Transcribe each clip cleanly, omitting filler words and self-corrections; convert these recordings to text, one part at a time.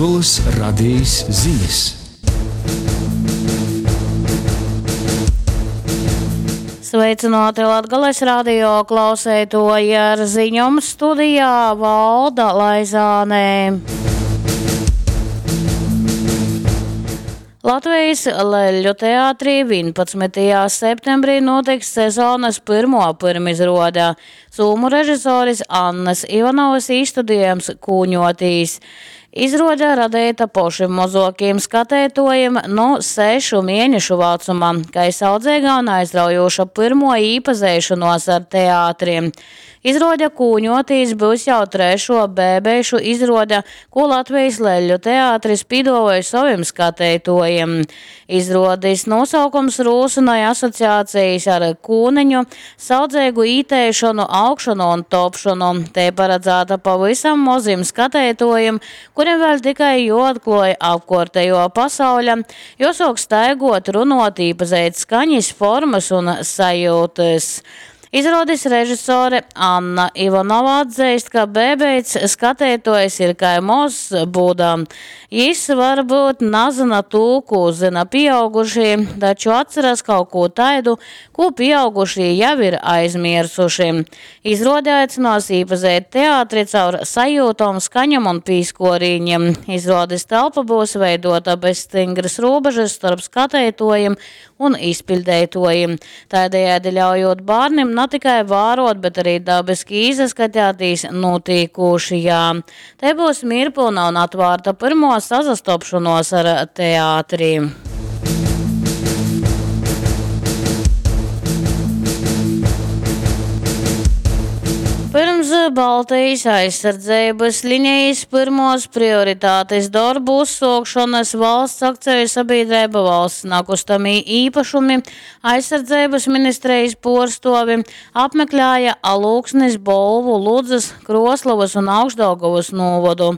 Latgolys Radejis zinis. Sveicināti Latgales radio klauseitoji ar ziņom studijā Valda Laizānē. Latvijas Leļu teātrī 11. septembrī notiks sezonas pyrmo pyrmizruode. Sūmu režisoris Annas Ivanovas īstudējums Kūņotīs. Izruode radeita pošim mozuokajim skateituojim nu 6 mienešu vacuma, kai saudzeiga un aizraujūša pyrmuo īpazeišonuos ar teātri. Izruode Kūņotīs byus jau trešuo bēbeišu izruode, kū Latvejis Leļu teatris pīduovoj sovim skateituojim. Izruodis nūsaukums rūsynoj asociacejis ar kūneņu, saudzeigu īteišonu, augšonu un topšonu. Tei paradzāta pavysam mozim skateituojim, kurim vēļ tikai juoatkluoj apkuortejuo pasauļa, juosuok staiguot, runuot, īpazeit skaņis, formys un sajiutys. Izruodis režisore Anna Ivanova atzeist, ka bēbeits skateituojs ir kai mozs Buda. Jis varbyut nazyna tū, kū zyna pīaugušī, taču atceras kaut kū taidu, kū pīaugušī jau ir aizmiersuši. Izruode aicynuos īpazeit teatri caur sajiutom, skaņom un pīskuorīņim. Izruodis telpa byus veiduota bez styngrys rūbežys storp skateituojim un izpiļdeituojim, taidejaidi ļaujūt bārnim na tikai vāruot, bet arī dabiski īsaskatētīs nūtīkūšajā. Tei byus mīrpylna un atvārta pyrmuo sasastopšonuos ar teatri. Pyrms Baltejis aizsardzeibys linejis pyrmuos prioritatis dorbu uzsuokšonys valsts akceju sabīdreiba Valsts nakustamī īpašumi Aizsardzeibys ministrejis puorstuovi apmeklēja Alūksnis, Bolvu, Ludzys, Kruoslovys un Augšdaugovys nūvodu.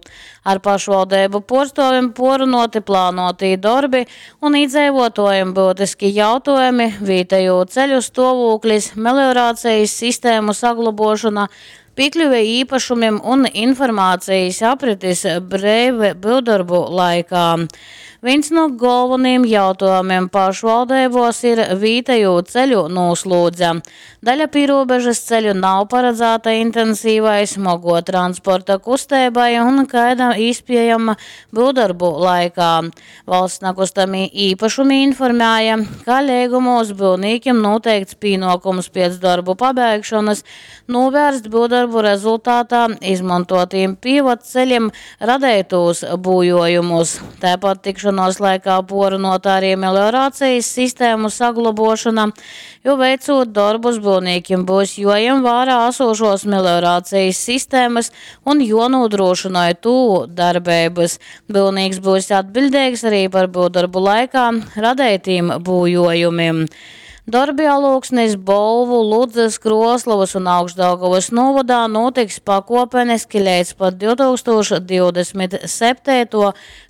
Ar pašvaldeibu puorstuovim puorrunuoti plānuotī dorbi un īdzeivuotuojim byutiski jautuojumi, vītejū ceļu stuovūklis, melioracejis sistēmu saglobuošona, pīkļuve īpašumim un informācejis apritis breive byuvdorbu laikā. Vīns nu golvonīm jautuojumim pašvaldeibuos ir vītejū ceļu nūslūdze. Daļa pīrūbežys ceļu nav paradzāta intensīvai smoguo transporta kusteibai un kaida īspiejama byuvdorbu laikā. Valsts nakustamī īpašumi informēja, ka leigumūs byuvnīkim nūteikts pīnuokums piec dorbu pabeigšonys nūvērst byuvdorbu rezultātā izmontuotīm pīvadceļim radeitūs būjuojumus. Taipat tikšonuos laikā puorunuota arī melioracejis sistēmu saglobuošona, jo veicūt dorbus byuvnīkim byus juojem vārā asūšuos melioracejis sistēmys un juonūdrūšynoj tū darbeibys. Byuvnīks byus atbiļdeigs arī par byuvdorbu laikā radeitīm būjuojumim. Dorbi Alūksnis, Bolvu, Ludzys, Kruoslovys un Augšdaugovys nūvodā nūtiks pakuopeniski leidz pat 2027.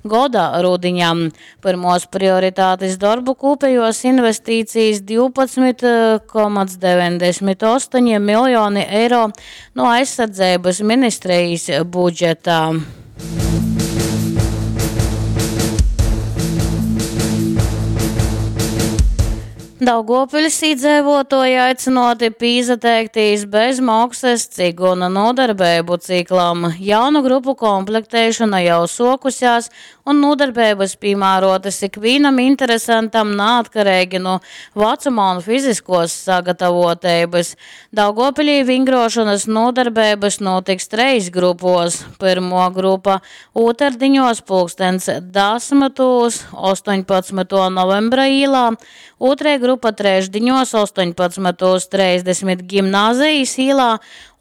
goda rudiņam. Pyrmuos prioritatis dorbu kūpejuos investīcijis 12,98 miljoni eiro nu Aizsardzeibys ministrejis budžeta. Daugovpiļs īdzeivuotuoji aicynuoti pīsateiktīs bez moksys ciguna nūdarbeibu ciklam. Jaunu grupu komplekteišona jau suokusēs un nūdarbeibys pīmāruotys ikvīnam interesentam naatkareigi nu vacuma un fiziskuos sagatavuoteibys. Daugovpilī vingruošonys nūdarbeibys nūtiks treis grupuos. Pyrmuo grupa ūtardiņuos pulkstens dasmytūs 18. novembra īlā, ūtrei grupa trešdiņuos 18.30 Gimnāzejis īlā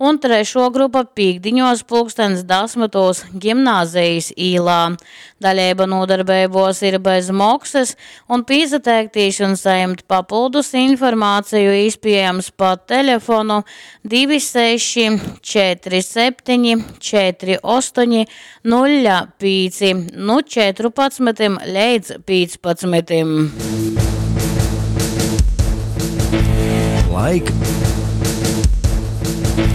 un trešuo grupa pīktdiņuos pulkstens dasmytūs Gimnāzejis īlā. Daleiba nūdarbeibuos ir bez moksys, un pīsateiktīs un sajimt papyldus informaceju īspiejams pa telefonu 26 47 48 05 nu 14 leidz 15. Laika.